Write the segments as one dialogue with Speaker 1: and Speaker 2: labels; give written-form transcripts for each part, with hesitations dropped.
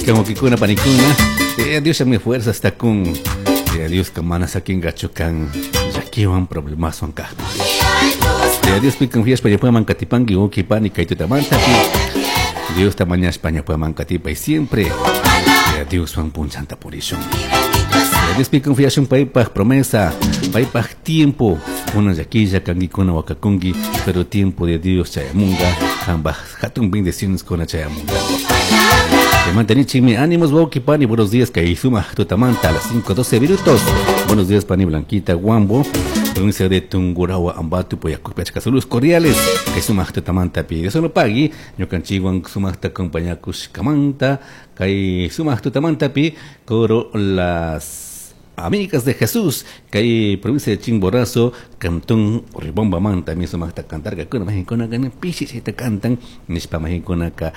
Speaker 1: Kan wawkikuna panikuna, Dios mi fuerza está con Dios mana sakingachu kan llakiwan problemaswan kajpi. Dios pi confiashpa ñukaman katipanki wawki pani kay tutamantapi. Diosta mañashpa ñukaman katipay siempre. Dioswan punchanta purishun. Diospi confiashun paypaj promesa, paypaj tiempo. Kuna llaquilla kankikuna wakakunki, pero tiempo de Dios chayamunga, kambaj hatun bendiciones kuna chayamunga. Mantenichimi ánimos, wawki pani, buenos días, kay sumaq tutamanta a las 5:12 minutos. Buenos días, pani Blanquita Guambo, provincia de Tungurahua, Ambato, Poyacupi, achka saludos cordiales. Kay sumaq tutamanta pi. Dios lo pagui, ñukanchikwan sumaqta acompañakushkamanta, kay sumaq tutamanta pi, coro Las Amigas de Jesús, kay provincia de Chimborazo, cantón Ribomba manta, mi sumaqta cantarkakuna, majinkuna pishi chayta cantan, nishpa majinkunaka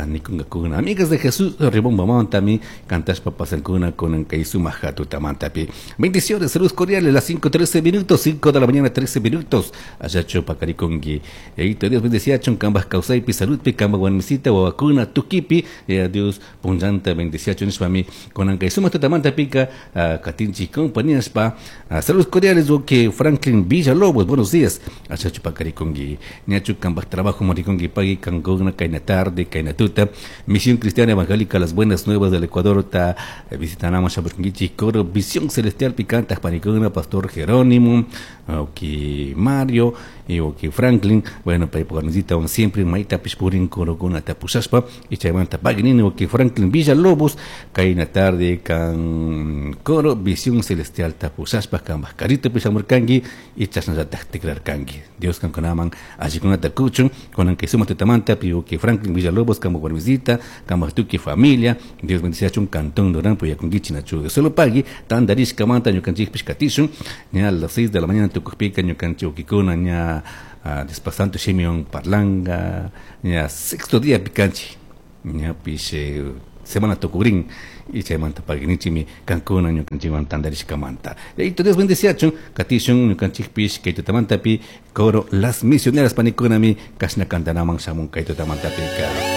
Speaker 1: nikunkakuna. Amigas de Jesús, Ribomba manta, mi cantashpa pasankuna con kay sumaq tutamantapi. Bendiciones, saludos cordiales, las 5:13 minutos, 5 de la mañana, 13 minutos. Allachu pakarikunki. Yayito Dios bendeciachun, kambaj kawsaypi, saludpi, kambaj warmisita, wawakuna, tukipi, Dios punllanta bendeciachun, nishpa mi kunan kay sumaq tutamantapika, katinchik compañías pa. Saludos cordiales, que Franklin Villalobos, buenos días. Achachu pakarikunki. Ñachu kambaj trabajo marikunki pagui kankuna kayna tarde, kayna tuta. Misión Cristiana Evangélica Las Buenas Nuevas del Ecuador ta visitanamos shamushkankichik coro Visión Celestial picanta panikuna, Pastor Jerónimo, oki Mario y oki Franklin. Bueno, pay warmisita siempre mayta pishpurin corokuna tapushashpa y chaymanta paginini oki Franklin Villalobos kayna tarde kan coro Visión Celestial tapushashpa kambaj carrito pishamurkanki y chashnallataj tikrarkanki. Dios kankunaman allikunata kuchun kunan kay sumaq tutamanta pi oki Franklin Villalobos kambaj warmisita kambaj tukuy familia. Dios bendiciachun cantón Durán puyakunkichik nachu solo pagui tandarishkamanta ñukanchikpish katishun ña a las 6 de la mañana tukukpika ñukanchik wawkikuna ña Diospa Santo Shimiwan parlanga ña sexto día pikanchik ñapish semana tukukrin y chaymanta paguinichimi kankuna ñukanchikwan tandarishkamanta. Yayito Dios bendiciachun katishun ñukanchikpish kay tutamantapi coro Las Misioneras panikunami kashna kantanaman shamun kay tutamantapika.